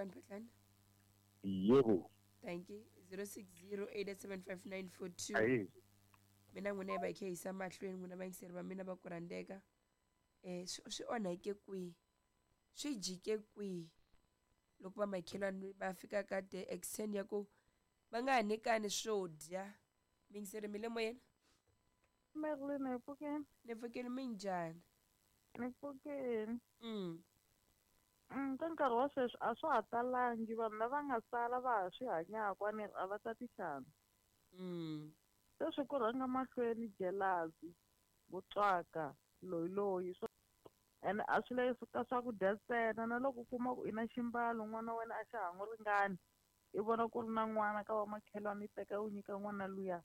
Kokwani Phatlani? Yebo. Thank you. 06087594. Ayi. Mina n'wina hi va hi kha hi yisa mahlweni, n'wina vayingiseri va mina va ku rhandzeka. Swi onhake kwihi, swi jike kwihi loko vamakhelwani va fika ka the extent ya ku va nga ha nyikani swo dya? Miyingiseri, mi le moyeni? Merlin, hi pfukeni. Ni pfukile, minjhani? Ni pfukile. Ka nkarhi wa sweswi a swa ha talangi, vanhu lava nga sala va ha swi hanyaka, a ni ri a va tati xandla. Sweswi ku rhanga mahlweni jealousy, vutswaka, loyiloyi, ene a swi le ka swakudya ntsena, na loko u kuma ku i na ximbalo n'wana wa wena a xa ha n'wi ringani, i vona ku ri na n'wana ka vamakhelwani, i teka u nyika n'wana luya,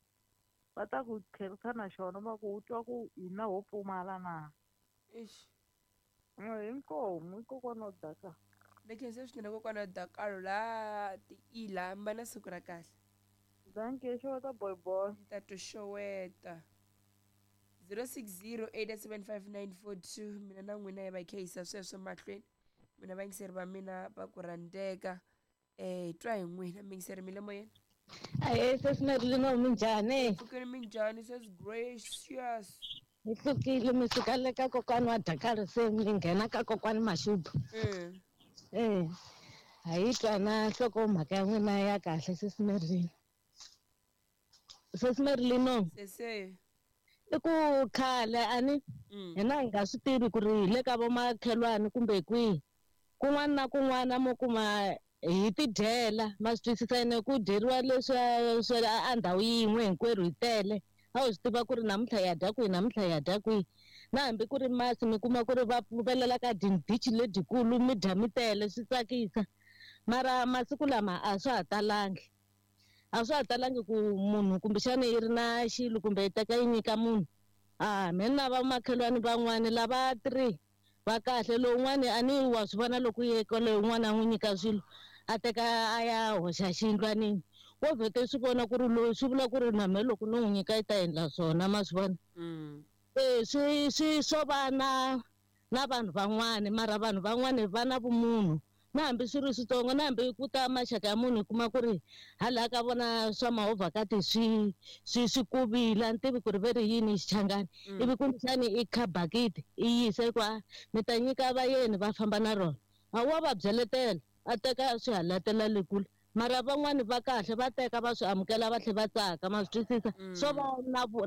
va ta ku tlherisa na xona, va ku u twa ku hina ho pfumala na. Eish. Inkomu, i kokwana wa Dakar. Ni khensa swinene kokwana wa Dakar la tiila, mi va na siku ra kahle. Dankie, xeweta boy boy. Ni ta to xeweta. 06087594, mina na n'wina hi va hi kha hi yisa sweswo mahlweni. Mina vayingiseri va mina va ku rhandzeka. Hi twa hi n'wina, miyingiseri mi le moyeni? Ahee, sesi Merlin, minjhani? Pfukeni, minjhani sesi Gracious? Hi pfukile, mi suka le ka kokwana wa Dakar, se mi nghena ka kokwana Mashudu. Ha yi twa na nhlokomhaka ya n'wina ya kahle, sesi Merlin. Sesi Merlin. Sese. I ku khale a ni hina hi nga swi tivi ku ri hi le ka vomakhelwani kumbe kwihi. Kun'wana na kun'wana mo kuma hi tidyela, ma swi twisisa, ene ku dyeriwa leswiya swa a ndhawu yin'we hinkwerhu hi tele. A wu swi tiva ku ri namuntlha hi ya dya kwihi, namuntlha hi ya dya kwihi. Na hambi ku ri masi mi kuma ku ri va pfumelela ka dindichi ledyikulu, mi dya mi tele, swi tsakisa. Mara masiku lama a swa ha talangi. A swa ha talangi ku munhu kumbexana yi ri na xilo kumbe yi teka yi nyika munhu. Me na vamakhelwani van'wani lava 3 va kahle, lowun'wani a ni wa swi vona loko ye kwale un'wana a n'wi nyika swilo, a teka a ya hoxa xiyindlwanini. Wo vhete swi vona ku ri loyi, swi vula ku ri na mehe loko no n'wi nyika yi ta endla swona, ma swi vona? Swi swo va na vanhu van'wani, mara vanhu van'wani va na vumunhu. Na hambi swi ri switsongo, na hambi ku ta maxaka ya munhu, u kuma ku ri hala ka vona swa mahovhakati swi kuvile, a ni tivi ku ri ve ri yini xichangani. Ivi kumbexani i kha bakiti i yisa ku mi ta nyika vayeni va famba na rona. A wa va byeletela, a teka a swi halatela le kule. Mara van'wani va kahle, va teka va swi amukela, va tlhela va tsaka, ma swi twisisa? Swo va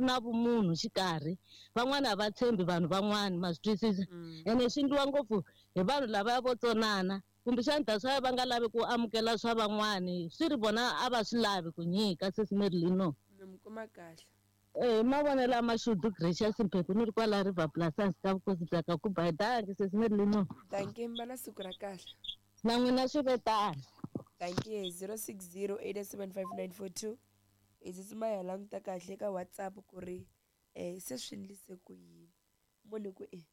na vumunhu xikarhi. Van'wani a va tshembi vanhu van'wani, ma swi twisisa? Ene swi endliwa ngopfu hi vanhu lava vo tsonana. Kumbexana that's why va nga lavi ku amukela swa van'wani, swi ri vona a va swi lavi ku nyika, sesi Merlin. Mi mi kuma kahle. Mavonelo ya Mashudu Gracious Mphephu, ni ri kwala River Plus hansi ka vukosi bya ka Kuba. Dankie, sesi Merlin. Dankie, mi va na siku ra kahle. Na n'wina swi ve tano. Dankie. 06087594. Hi tsutsuma hi ya languta kahle ka WhatsApp ku ri se swi endlise ku yini. Munhu ku e.